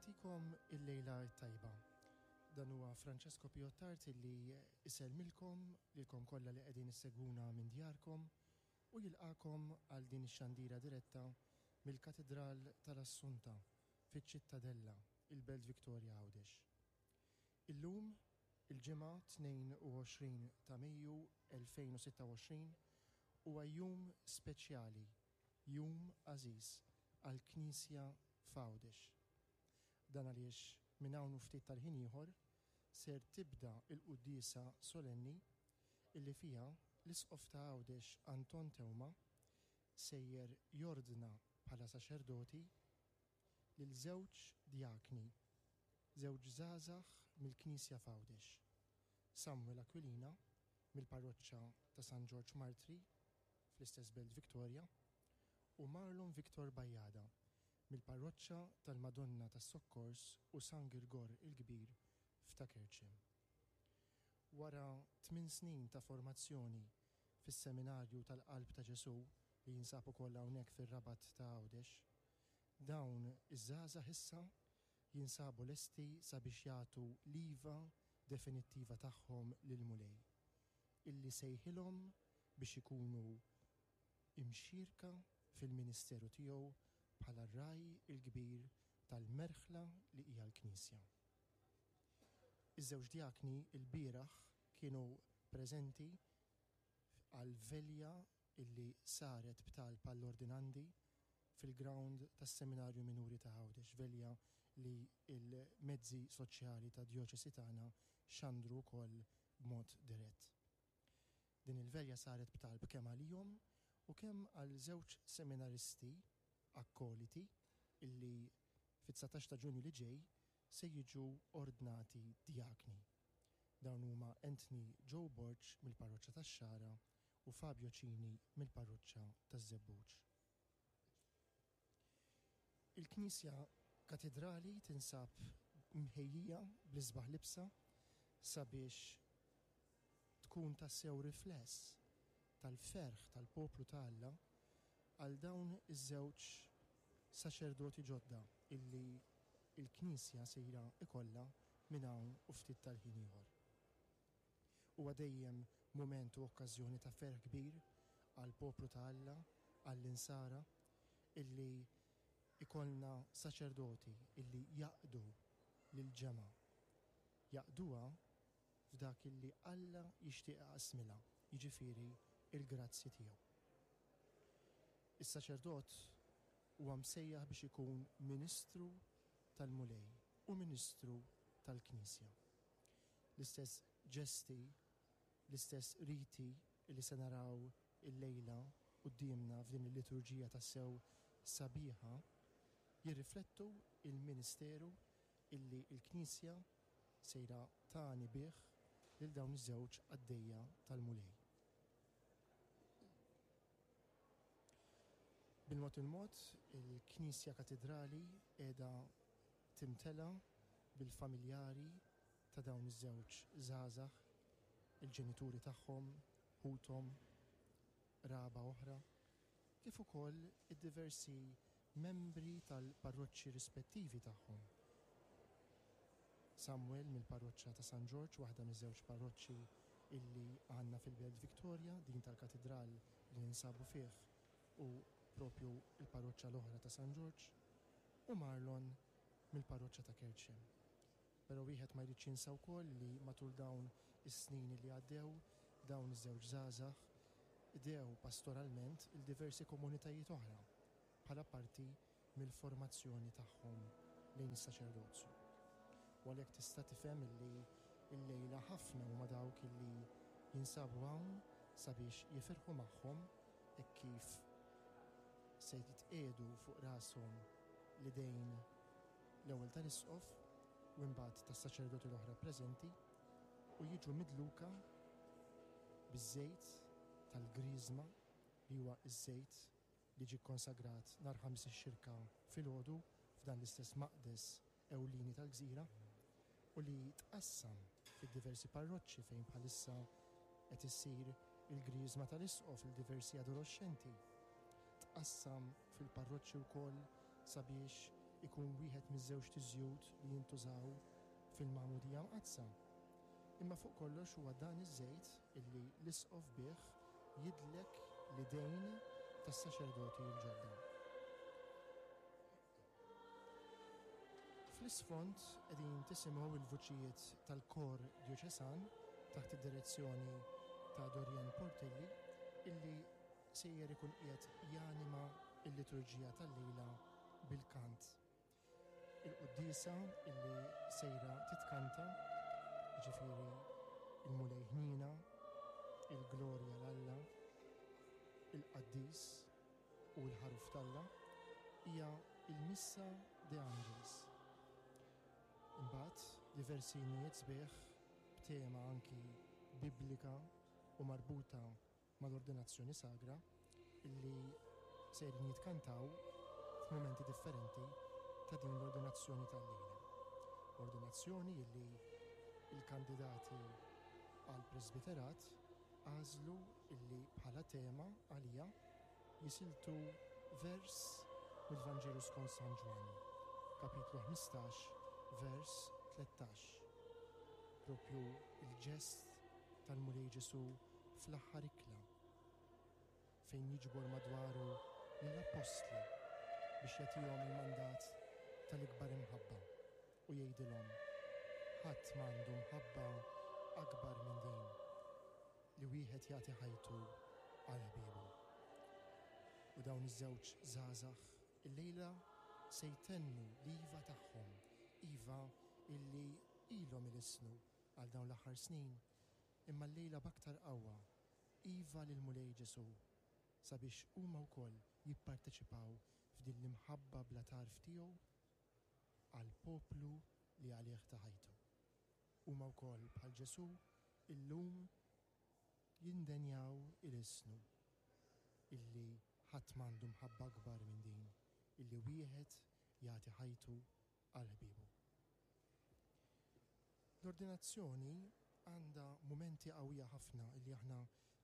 Nagħtikom il-lejla t-tajba. Dan huwa Francesco Piottart illi isellmilkom lilkom kollha li qegħdin issegwuna minn djarkom u jilqagħkom għal din ix-xandira diretta mill-Katidral tal-Assunta fiċ-Ċittadella, il-Belt Victoria Għawdex. Illum, il-Ġimgħa 22 ta' Mejju 2026, huwa jum speċjali, jum għażiż għall-Knisja f'Għawdex. Dan għaliex minn hawn u ftit tal-ħin ieħor ser tibda l-quddiesa solenni illi fiha l-Isqof ta' Għawdex Anton Teuma sejjer jordna bħala saċerdoti lil żewġ djakni, żewġ żgħażagħ mill-Knisja f'Għawdex, Samuel Aquilina mill-Parroċċa ta' San Ġorġ Martri fl-istess Belt Victoria u Marlon Victor Bajada mill-Parroċċa tal-Madonna tas-Sokkors u San Girgor il-Kbir f'Ta' Kerċem. Wara tminn snin ta' formazzjoni fis-Seminarju tal-Qalb ta' Ġesù li jinsab ukoll hawnhekk fir-Rabat ta' Għawdex, dawn iż-żgħażagħ issa jinsabu lesti sabiex jagħtu l-iva definittiva tagħhom lill-Mulej, illi sejħilhom biex ikunu imxierka fil-ministeru tiegħu bħala r-Ragħaj il-Kbir tal-merħla li hija l-Knisja. Iż-żewġ djakni lbieraħ kienu preżenti għall-velja illi saret b'talb għall-ordinandi fil-ground tas-Seminarju Minuri ta' Għawdex, velja li l-mezzi soċjali tad-djoċesi tagħna xandru wkoll b'mod dirett. Din il-velja saret b'talb kemm għalihom u kemm għal żewġ seminaristi akkoliti illi fit-19 ta' Ġunju li ġej se jiġu ordnati djakni. Dawn huma Anthony Joe Borg mill-Parroċċa tax-Xagħra u Fabio Cini mill-Parroċċa taż-Żebbuġ. Il-Knisja Katidrali tinsab mħejjija bl-isbaħ libsa sabiex tkun tassew rifless tal-ferħ tal-poplu ta' Alla għal dawn iż-żewġ saċerdoti ġodda illi l-Knisja sejra ikollha minn hawn u ftit tal-ħin ieħor. Huwa dejjem mument u okkażjoni ta' ferħ kbir għall-poplu ta' Alla, għall-Insara, illi ikollna saċerdoti illi jaqdu lill-ġemgħa. Jaqduha f'dak illi Alla jixtieq iqassmilha, jiġifieri l-grazzji tiegħu. Is-saċerdot huwa msejjaħ biex ikun ministru tal-Mulej u ministru tal-Knisja. L-istess ġesti, l-istess riti li se naraw illejla quddiemna f'din il-liturġija tassew sabiħa jirriflettu l-ministeru illi l-Knisja sejra tagħni bih lil dawn iż-żewġ qaddejja tal-Mulej. Bil-mod il-mod, il-Knisja Katidrali qiegħda timtela bil-familjari ta' dawn iż-żewġ żgħażagħ, il-ġenituri tagħhom, ħuthom, qraba oħra, kif ukoll id-diversi membri tal-parroċċi rispettivi tagħhom. Samuel mill-parroċċa ta' San Ġorġ, waħda miż-żewġ parroċċi illi għandna fil-Belt Victoria, din tal-Katidral li ninsabu fih u propju l-parroċċa l-oħra ta' San Ġorġ, u Marlon mill-parroċċa ta' Kerċem. Però wieħed ma jridx jinsa wkoll li matul dawn is-snin li għaddew, dawn iż-żewġ żgħażagħ qdew pastoralment 'il diversi komunitajiet oħra bħala parti mill-formazzjoni tagħhom lejn is-saċerdozju. U għalhekk tista' tifhem illi llejla ħafna huma dawk illi jinsabu hawn sabiex jifirħu magħhom hekk kif se jitqiegħdu fuq rashom l-idejn l-ewwel tal-Isqof u imbagħad tas-saċerdoti l-oħra preżenti u jiġu midluka biż-żejt tal-griżma li huwa ż-żejt li ġie kkonsagrat nhar Ħamis ix-Xirka filgħodu f'dan l-istess maqdes ewlieni tal-gżira u li tqassam fid-diversi parroċċi fejn bħalissa qed issir il-griżma tal-Isqof lil diversi adoloxxenti. Tqassam fil-parroċċi wkoll sabiex Ikun wieħed miż-żewġt iżjut li jintużaw fil-Magħmudija Mqaddsa. Imma fuq kollox huwa dan iż-żejt illi l-Isqof bih jidlek l-idejn tas-saċerdoti l-ġodda. Fl-isfond qegħdin tisimgħu l-vuċijiet tal-Kor Djoċesan taħt id-direzzjoni ta' Dorian Portelli illi sejjer ikun qiegħed janima l-liturġija tal-lejla bil-kant. Il-quddiesa illi sejra titkanta, jiġifieri il-Mulej Ħniena, il-Glorja 'l Alla, il-Qaddis u l-Ħaruf t'Alla, hija l-Missa De Angelis. Imbagħad diversi innijiet sbieħ b'tema anki biblika u marbuta mal-ordinazzjoni sagra illi sejrin jitkantaw f'mumenti differenti ta' din l-ordinazzjoni tal-lejla. Ordinazzjoni illi l-kandidati għall-presbiterat għażlu illi bħala tema għaliha jisiltu vers mill-Vanġelu skont San Ġwann, kapitlu 15, vers 13. Propju l-ġest tal-Mulej Ġesù fl-aħħar ikla, fejn jiġbor madwaru lill-appostli biex jagħtihom il-mandat tal-ikbar imħabba u jgħidilhom, Ħadd m'għandu mħabba akbar minn din, li wieħed jagħti ħajtu għal ħbiebu. U dawn iż-żewġ żgħażagħ illejla se jtennu l-iva tagħhom, iva illi ilhom ilissnu għal dawn l-aħħar snin, imma llejla b'aktar qawwa, iva lill-Mulej Ġesù, sabiex huma wkoll jipparteċipaw f'din l-imħabba bla tarf tiegħu għall-poplu li għalih ta ħajtu. Huma wkoll bħal Ġesù illum jindenjaw ilissnu illi ħadd m'għandu mħabba akbar minn din illi wieħed jagħti ħajtu għal ħbiebu. L-ordinazzjoni għandha mumenti qawwija ħafna li aħna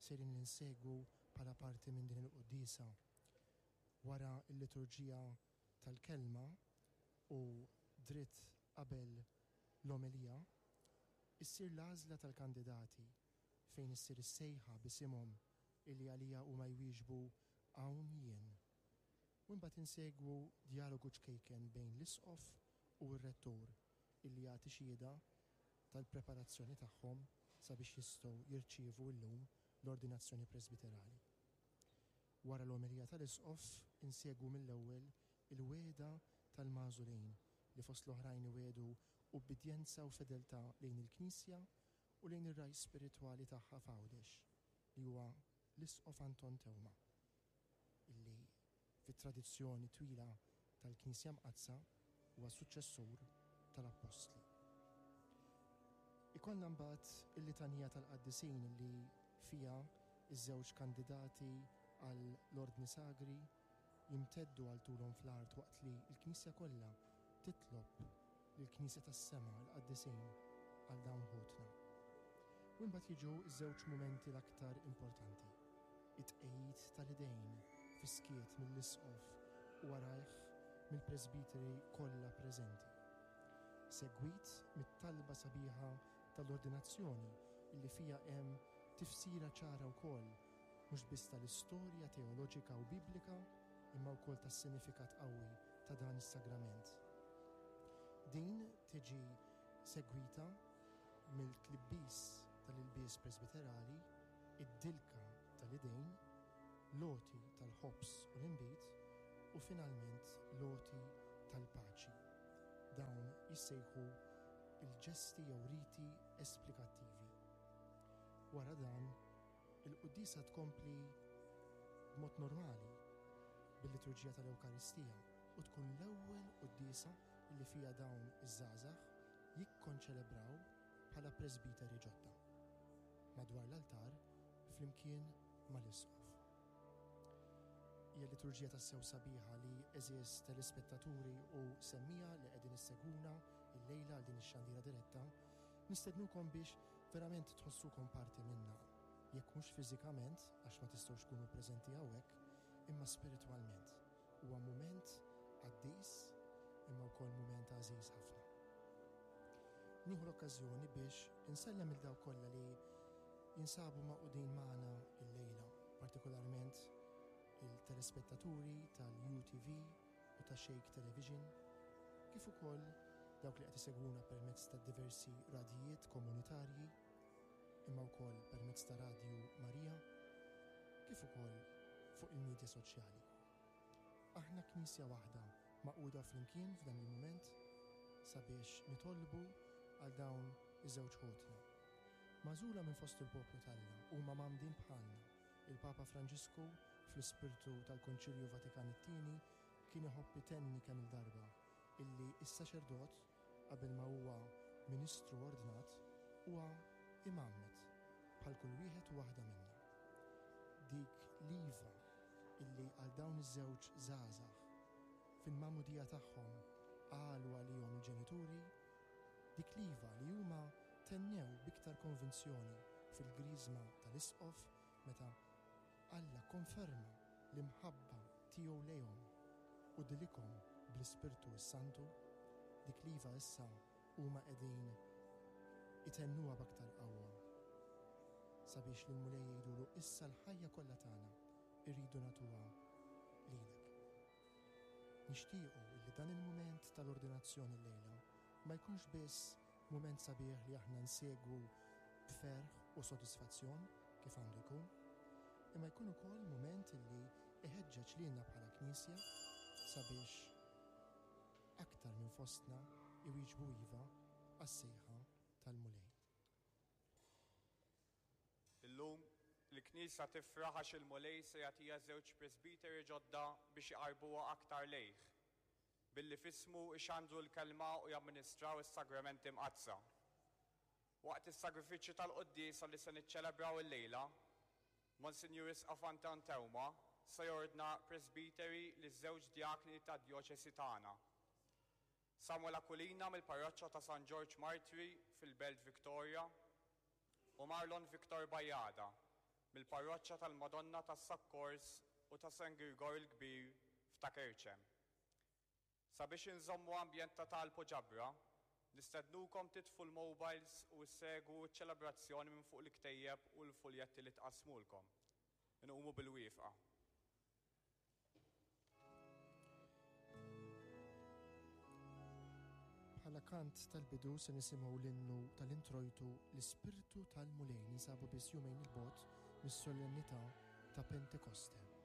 sejrin insegwu bħala parti minn din il-quddiesa. Wara l-liturġija tal-kelma u dritt qabel l-omelija, issir l-għażla tal-kandidati fejn issir is-sejħa b'isimhom illi għaliha huma jwieġbu hawn jien. U imbagħad insegwu djalogu ċkejken bejn l-Isqof u r-Rettur illi jagħti xhieda tal-preparazzjoni tagħhom sabiex jistgħu jirċievu llum l-ordinazzjoni presbiterali. Wara l-omelija tal-Isqof insegwu mill-ewwel il-wegħda tal-magħżulin li fost l-oħrajn iwiegħdu ubbidjenza u fedeltà lejn il-Knisja u lejn ir-ragħaj spiritwali tagħha f'Għawdex li huwa l-Isqof Anton Teuma illi fit-tradizzjoni twila tal-Knisja Mqaddsa huwa suċċessur tal-Appostli. Ikollna mbagħad il-litanija tal-qaddisin li fiha ż-żewġ kandidati għal l-Ordni Sagri jimteddu għal tulhom fl-art waqt li l-Knisja kollha titlob lill-Knisja tas-Sema, l-qaddisin, għal dawn ħutna. U imbagħad jiġu ż-żewġ mumenti l-aktar importanti, it-tqegħid tal-idejn fis-skiet mill-Isqof u warajh mill-presbiteri kollha preżenti, segwit mit-talba sabiħa tal-ordinazzjoni illi fiha hemm tifsira ċara wkoll mhux biss tal-istorja teoloġika u biblika imma wkoll tas-sinifikat qawwi ta' dan is-sagrament. Din tiġi segwita mill-tlibbis tal-ilbies presbiterali, id-dilka tal-idejn, l-għoti tal-ħobż u l-inbid, u finalment l-għoti tal-paċi. Dawn jissejħu l-ġesti jew riti esplikattivi. Wara dan, il-quddiesa tkompli b'mod normali bil-liturġija tal-Ewkaristija u tkun l-ewwel quddiesa li fiha dawn iż-żgħażagħ jikkonċelebraw bħala presbiteri ġodda, madwar l-altar flimkien mal-Isqof. Hija liturġija tassew sabiħa li, għeżież telespettaturi u semmiegħa li qegħdin issegwuna llejla għal din ix-xandira diretta, nistednukom biex verament tħossukom parti minnha, jekk mhux fiżikament għax ma tistgħux tkunu preżenti hawnhekk, imma spiritwalment. Huwa mument qaddis, Nieħu l-okkażjoni biex insellem lil dawk kollha li jinsabu magħqudin magħna llejla, partikolarment il-telespettaturi tal-UTV u ta' Shake Television, kif ukoll dawk li qed isegwuna permezz ta' diversi radjijiet komunitarji, imma wkoll permezz ta' Radju Marija, kif ukoll fuq il-midja soċjali. Aħna Knisja waħda magħquda flimkien f'dan il-mument sabiex nitolbu għal dawn iż-żewġ ħutna. Magħżula minn fost il-poplu t'Alla, huma mgħammdin bħalna. Il-Papa Franġisku, fl-ispirtu tal-Konċilju Vatikan it-Tieni, kien iħobb itenni kemm-il darba illi s-saċerdot, qabel ma huwa ministru ordnat, huwa imgħammed bħal kull wieħed u waħda minna. Dik l-iva illi għal dawn iż-żewġ żgħażagħ, fil-magħmudija tagħhom qalu għalihom il-ġenituri, dik l-iva li huma tennew b'iktar konvinzjoni fil-griżma tal-Isqof meta Alla kkonferma l-imħabba tiegħu lejhom u dilikhom bl-Ispirtu s-Santu, dik l-iva issa huma qegħdin itennuha b'aktar qawwa sabiex lill-Mulej jgħidulu issa l-ħajja kollha tagħna rridu nagħtuha lilek. Nixtiequ li dan il-mument tal-ordinazzjoni llejla ma jkunx biss mument sabiħ li aħna nsegwu b'ferħ u sodisfazzjon, kif għandu jkun, imma jkun ukoll mument li iħeġġeġ lilna bħala Knisja sabiex aktar minn fostna jwieġbu iva għas-sejħa tal-Mulej. Illum, il-Knisja tifraħ għax il-Mulej se jagħtiha żewġ presbiteri ġodda biex iqarrbuha aktar lejh, billi f'ismu jxandru l-Kelma u jamministraw is-Sagramenti Mqaddsa. Waqt is-sagrifiċċju tal-quddiesa li se niċċelebraw illejla, Monsinjur Isqof Anton Teuma se jordna presbiteri liż-żewġ djakni tad-djoċesi tagħna, Samuel Aquilina mill-Parroċċa ta' San Ġorġ Martri fil-Belt Victoria u Marlon Victor Bajada mill-Parroċċa tal-Madonna tas-Sokkors u ta' San Girgor il-Kbir f'Ta' Kerċem. Sabiex inżommu ambjent ta' talb u ġabra, nistednukom titfu l-mobiles u ssegwu ċ-ċelebrazzjoni minn fuq il-ktejjeb u l-fuljetti li tqassmulkom. Inqumu bil-wieqfa. Bħala kant tal-bidu se nisimgħu l-innu tal-introjtu L-Ispirtu tal-Mulej. Ninsabu biss jumejn 'il bogħod mis-solennità ta' Pentekoste.